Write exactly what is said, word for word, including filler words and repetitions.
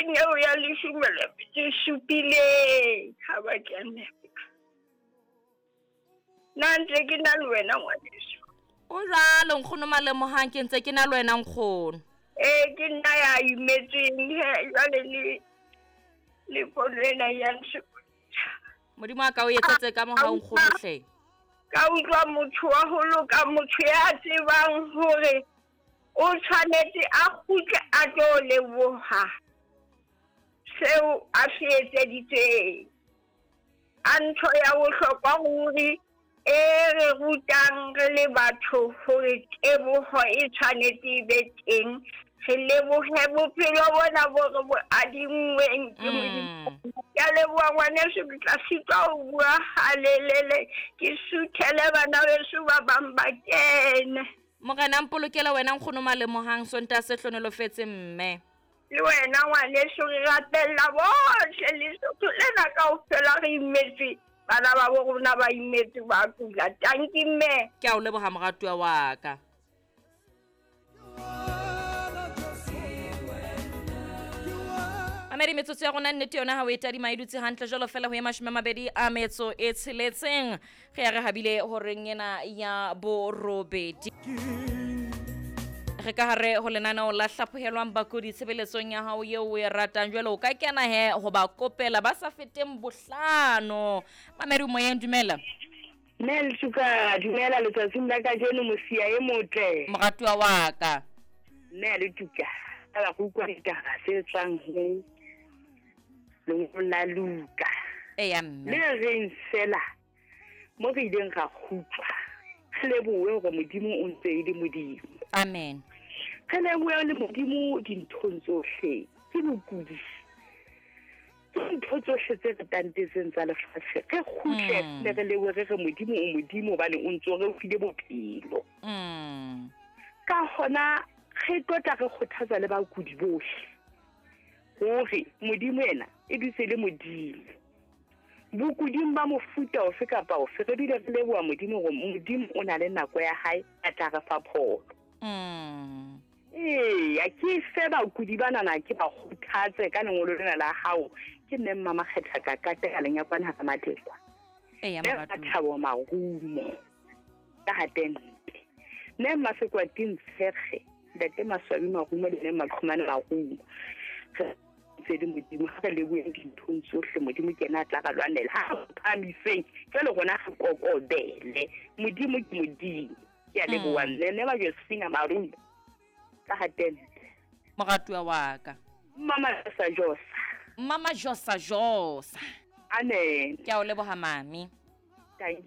horeng eo ya leshome le metso e supileng ha ba kene. Nna ntse ke na le wena ngwaneso. O jwalo nkgono Malemohang, ke ntse ke na le wena nkgono. Ee, ke nna ya imetsweng he, jwale le le fono ena ya nsokodisa. Modimo a ka o etsetse ka mohau nkgono hle. Ka utlwa motho wa ho loka, motho ya tsebang hore o tshwanetse a kgutle a tlo leboha seo a se etseditseng. A ntho ya bohlokwa ruri e re rutang re le batho hore teboho e tshwanetse e be teng. Re lebohe bophelo bona bo re bo adinngweng ke Modimo. Ke a leboha ngwaneso, ke tla sitwa ho bua halelele, ke suthele bana beso ba bang ba kene. Morena mpolokele wena nkgono Malemohang, Sontaha se hlohonolofetse mme. Le wena ngwaneso, re rapella bohle Lesotho lena kaofela re imetswe. Bana ba bo rona ba imetswe ba kula. Tanki mme. Ke a o leboha moratuwa wa ka. Mamedi, metsotso ya rona nnete yona ha o e tadima e dutse hantle jwalo fela ho ye mashome a mabedi a metso e tsheletseng. Re ya re habile horeng ena ya borobedi. Re ka hare ho lenaneo la hlaphohelwang bakudi tshebeletsong ya hao eo o e ratang. Jwale o ka kena he ho ba kopela ba sa feteng bohlano. Mamedi moyeng, dumela. Mme Letuka, dumela letsatsing la kajeno, mosia e motle. Moratuwa wa ka. Mme Letuka, ka ba go utlwa ditaba tse tswang ho lengolo la Luka. Eya mme. Le reng fela mo re ileng ra kgutlwa, re lebohe hore Modimo o ntse e le Modimo. Amen. Re lebohe le Modimo dinthong tsohle. Ke bokudi. Ke dintho tsohle tse re tantetseng tsa lefatshe. Re kgutle Mm. le re lebohe re re Modimo o Modimo hobane o ntso re o file bophelo. Mm. Ka hona re tlotla re kgothatsa le bakudi bohle hore Modimo ena e dutse le Modimo. Bokuding ba mofuta ofe kapa ofe, re dule re leboha Modimo hore Modimo o na le nako ya hae a tla re fa pholo. Mm. Eya, ke fe bakudi banana ke ba kgothatse ka lengolo lena la hao. Ke mme Mmamakgetha ka katela lenyakwana hara Matlekwa. Eya, Mme moratuwa. Thabo Marumo ka Hatente. Mme Mmasekwati Ntshekge, Ntate Maswabi Marumo le Mme Maqhumane Marumo. Re ntse le Modimo, ha re leboheng dinthong tsohle, Modimo ke yena a tla re lwanela. Ha re phahamiseng, jwale rona re kokobele. Modimo ke Modimo. Ke a leboha Mm. mme, mme ba Josephina Marumo ka Hatente. Moratuwa wa ka. Mama Josa Josa. Mama Josa Josa. Amen. Ke a o leboha mami.